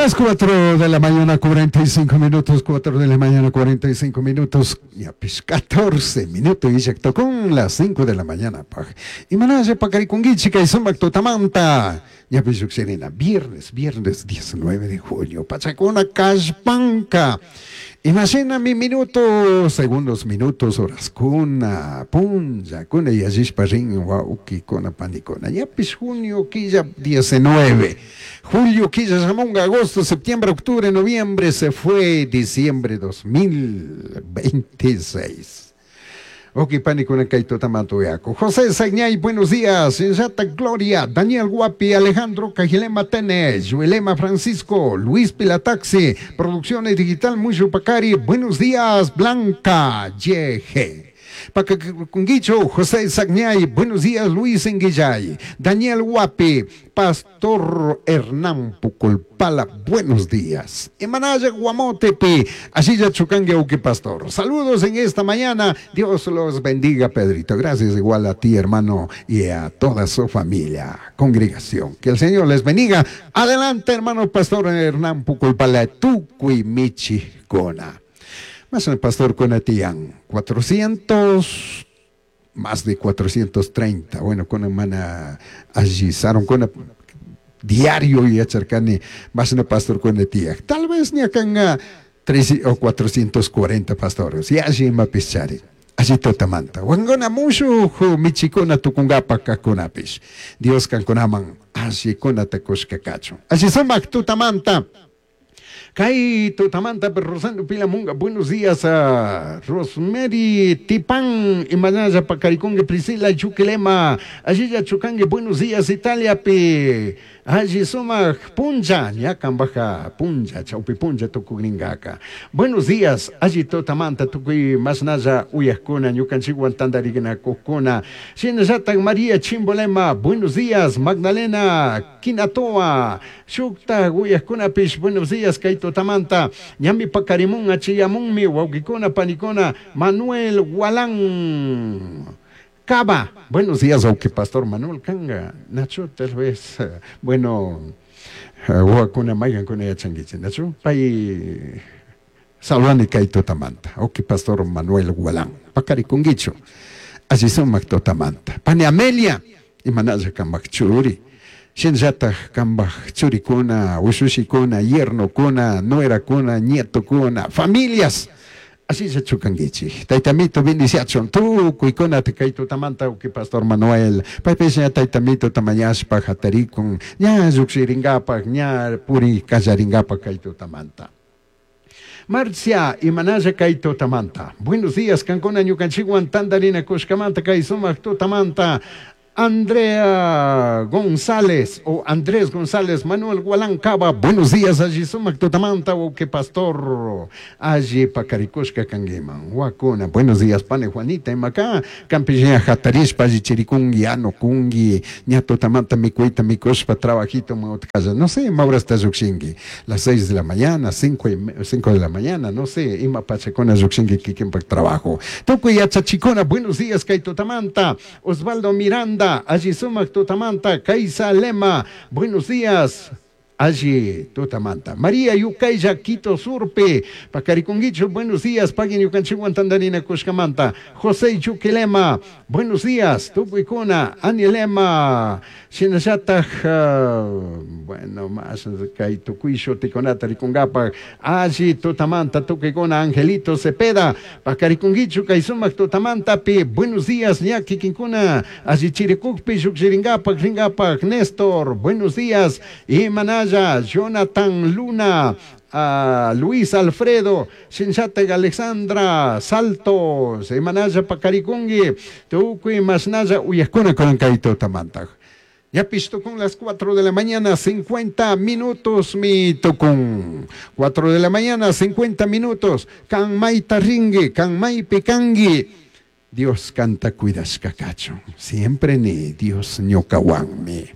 Las 4 de la mañana 45 minutos, 4 de la mañana 45 minutos, ñapish 14 minutos illaktukun las 5 de la mañana paj. Imanalla paqarikunkichik kay sumak tutamanta, ñapish llukshirina viernes, viernes 19 de junio, pachakuna kallpanka. Imashinami minutos, segundos, minutos, horaskuna, punllakuna yallishpa rin wawkikuna, panikuna. Ñapish junio killa 19. Julio killa shamunga, agosto, septiembre, octubre, noviembre, se fue diciembre 2026. Wawki panikuna kay tutamanta uyaku. José Sagñay, buenos días. Shinllata Gloria, Daniel Guapi, Alejandro Cajilema Tene, Juelema Francisco, Luis Pilataxi, Producciones Digital Mushupacari, buenos días, Blanca YG. Pakakunguicho, José Sagñay, buenos días, Luis Enguillay, Daniel Guapi, Pastor Hernán Puculpala, buenos días. Emanaya Guamotepi, así ya Chucangue Uki Pastor. Saludos en esta mañana, Dios los bendiga, Pedrito. Gracias igual a ti, hermano, y a toda su familia, congregación. Que el Señor les bendiga. Adelante, hermano Pastor Hernán Puculpala, Tucui Michi Cona. Más el pastor Conatián, 400, más de 430. Bueno, con hermana allí, Saron con diario y acharcani, más el pastor Conatía. Tal vez ni acá 3 o 440 pastores. Y allí mapischari. Allí totamanta. Wangona mushu michikuna tukungapa kakunapish. Dios kankunaman allí kunata kushka kachu. Allí sumak tutamanta. Kay tutamanta Rosendo Pilamunga, buenos días a Rosemary Tipán, Imanaya Pacaricongue, Priscila Chuquilema, Allilla Chucangue, buenos días Italia pi, allí sumak puncha, ñakan baja puncha, chaupi puncha tukugringaka. Buenos días, allí tutamanta tukuy masnaya uyajkuna, ñukanchikwan tandarigna kukuna, Shinallatan María Chimbolema, buenos días, Magdalena Quinatoa, Shukta uyajkunapish, buenos días, kay tutamanta, ñami pakarimun, achiyamunmi, wawkikuna, panikuna, Manuel Gualán Cava, buenos días, aunque Pastor Manuel Kanga, Nacho, tal vez, bueno, wakuna maygankuna yachankichik, Nacho, pay salvani kay tutamanta, ok, Pastor Manuel Gualán, pakarikunkichu, allí sumak tutamanta, pani Amelia, imanalla kambak churi, shinllataj kambaj churikuna, ushushikuna, yernokuna, nuerakuna, nietokuna, familias, así se chukankichik. Taytamito bendiciachun, tukuykuna kay tutamanta uki Pastor Manuel, paypish ña taytamito tamañashpa hatarikun, ña llukshirinkapak, ña puri kallarinkapak kay tutamanta. Marcia Imanaya kay tutamanta. Buenos días, kankuna ñukanchikwan tandarina kushkamanta kay sumak tutamanta. Andrea González o Andrés González, Manuel Gualán Cava, buenos días, allí sumak tutamanta, o que pastor, allí pakarikushka kangiman, wakuna, buenos días, pane Juanita, imacá, campillea jatarishpa, allí chirikungi, ano kungi, ña tutamanta mikuita, mikushpa, trabajito, mautkaya, no sé, maura está yukshingi, las 6 de la mañana, 5 de la mañana, no sé, ima pachacona yukshingi, kikinpak trabajo. Tukuy yachachikuna, buenos días, kay tutamanta, Osvaldo Miranda, allí sumak tutamanta, Kaisa Lema, buenos días, allí tutamanta. María Yucaya, Quito Surpe, Pacariconguicho, buenos días, Paguen Yucanchihuan Tandarina Cuscamanta, José Yuquilema, buenos días, Tucuicuna, Anilema, Shinayataj, bueno, más kay Tucuisho, Ticonata, Ricungapa, allí tutamanta, Tucuicuna, Angelito Cepeda, Pacariconguicho, Kaisumac tutamanta, pi, buenos días, Ñaki Quincuna, allí Chiricucpi, Yuxiringapa, Ringapa, Néstor, buenos días, y Manaya, Jonathan Luna, a Luis Alfredo, Shinchate Alexandra, Saltos, Emanaya Pacaricungui, Tucui Masnaya, Uyascuna con Kaito Tamanta. Ya pisto con las 4 de la mañana, 50 minutos, mi tocón. 4 de la mañana, 50 minutos. Can mai tarringui, can mai picangui. Dios canta cuidascacacho. Siempre ni Dios ñocahuanmi.